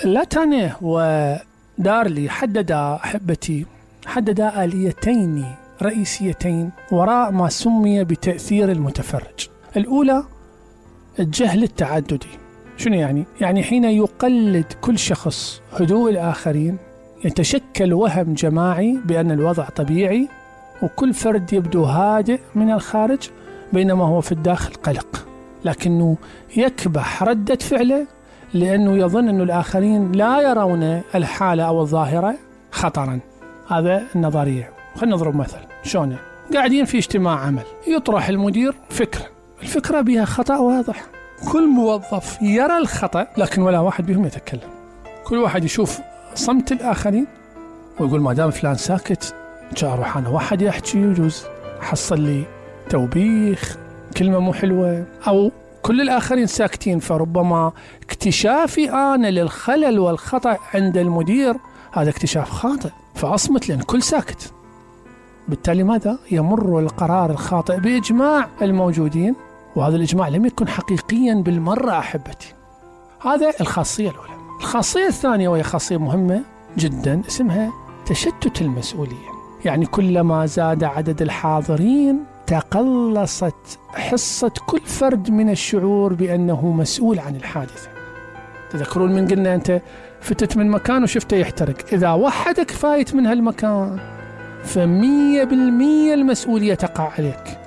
لاتانيه ودارلي حددا آليتين رئيسيتين وراء ما سمي بتأثير المتفرج. الأولى الجهل التعددي. شنو يعني؟ يعني حين يقلد كل شخص هدوء الآخرين يتشكل وهم جماعي بأن الوضع طبيعي وكل فرد يبدو هادئ من الخارج بينما هو في الداخل قلق، لكنه يكبح ردة فعله لأنه يظن أن الآخرين لا يرون الحالة أو الظاهرة خطرا. هذا النظرية. خلينا نضرب مثل. شلون؟ قاعدين في اجتماع عمل، يطرح المدير فكرة، الفكرة بها خطأ واضح، كل موظف يرى الخطأ لكن ولا واحد بهم يتكلم. كل واحد يشوف صمت الآخرين ويقول ما دام فلان ساكت جاء أروح أنا واحد يحكي يجوز حصل لي توبيخ كلمة مو حلوة، أو كل الآخرين ساكتين فربما اكتشافي أنا للخلل والخطأ عند المدير هذا اكتشاف خاطئ فأصمت لأن كل ساكت. بالتالي ماذا؟ يمر القرار الخاطئ بإجماع الموجودين، وهذا الإجماع لم يكن حقيقيا بالمرة أحبتي. هذا الخاصية الأولى. الخاصية الثانية وهي خاصية مهمة جدا اسمها تشتت المسؤولية. يعني كلما زاد عدد الحاضرين تقلصت حصة كل فرد من الشعور بأنه مسؤول عن الحادثة. تذكرون من قلنا أنت فتت من مكان وشفته يحترق، إذا وحدك فايت من هالمكان ف100% المسؤولية تقع عليك،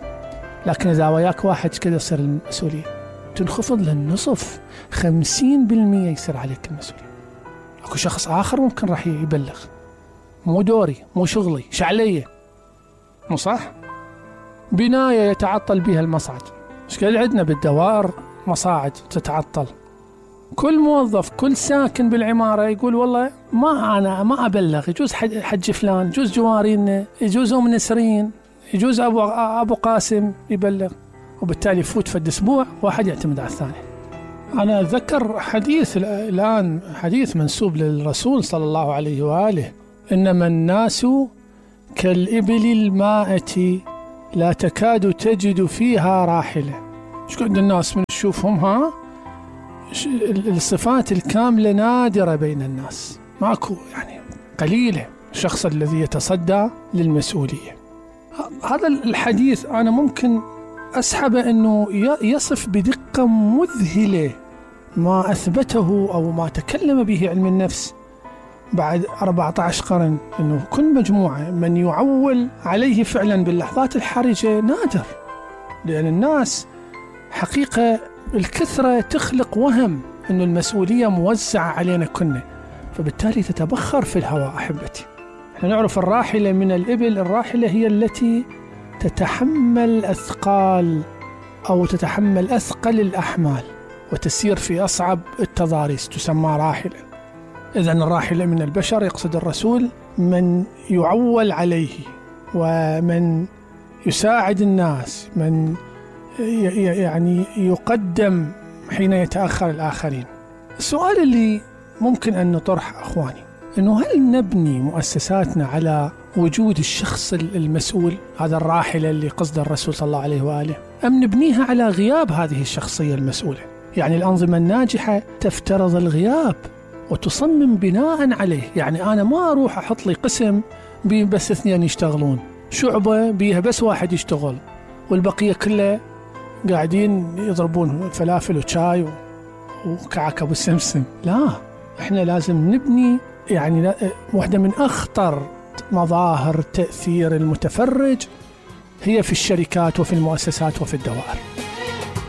لكن إذا وياك واحد كذا يصير المسؤولية تنخفض للنصف، 50% يصير عليك المسؤولية. أكو شخص آخر ممكن راح يبلغ، مو دوري مو شغلي شعلية، مو صح؟ بناية يتعطل بها المصعد، مش كده عندنا بالدوائر مصاعد تتعطل، كل موظف كل ساكن بالعمارة يقول والله أنا ما أبلغ، يجوز حج فلان، يجوز جوارين، يجوز أم نسرين، يجوز أبو قاسم يبلغ، وبالتالي يفوت في الأسبوع واحد يعتمد على الثاني. أنا أتذكر حديث الآن، حديث منسوب للرسول صلى الله عليه وآله: إنما الناس كالإبل المائة لا تكاد تجد فيها راحلة. شو قد الناس من تشوفهم الصفات الكاملة نادرة بين الناس، ماكو يعني قليلة الشخص الذي يتصدى للمسؤولية. هذا الحديث أنا ممكن أسحب أنه يصف بدقة مذهلة ما أثبته أو ما تكلم به علم النفس بعد 14 قرن، أنه كل مجموعة من يعول عليه فعلا باللحظات الحرجة نادر، لأن الناس حقيقة الكثرة تخلق وهم أن المسؤولية موزعة علينا كنا، فبالتالي تتبخر في الهواء. أحبتي، احنا نعرف الراحلة من الإبل، الراحلة هي التي تتحمل أثقال أو تتحمل أثقل الأحمال وتسير في أصعب التضاريس، تسمى راحلة. إذن الراحلة من البشر يقصد الرسول من يعول عليه ومن يساعد الناس، من يعني يقدم حين يتأخر الآخرين. السؤال اللي ممكن أن نطرح أخواني أنه هل نبني مؤسساتنا على وجود الشخص المسؤول، هذا الراحلة اللي قصد الرسول صلى الله عليه وآله، أم نبنيها على غياب هذه الشخصية المسؤولة؟ يعني الأنظمة الناجحة تفترض الغياب وتصمم بناء عليه. يعني أنا ما أروح أحط لي قسم بس 2 يشتغلون، شعبة بيها بس 1 يشتغل والبقية كله قاعدين يضربون فلافل وشاي وكعكة والسمسم. لا، احنا لازم نبني يعني واحدة من أخطر مظاهر تأثير المتفرج هي في الشركات وفي المؤسسات وفي الدوائر.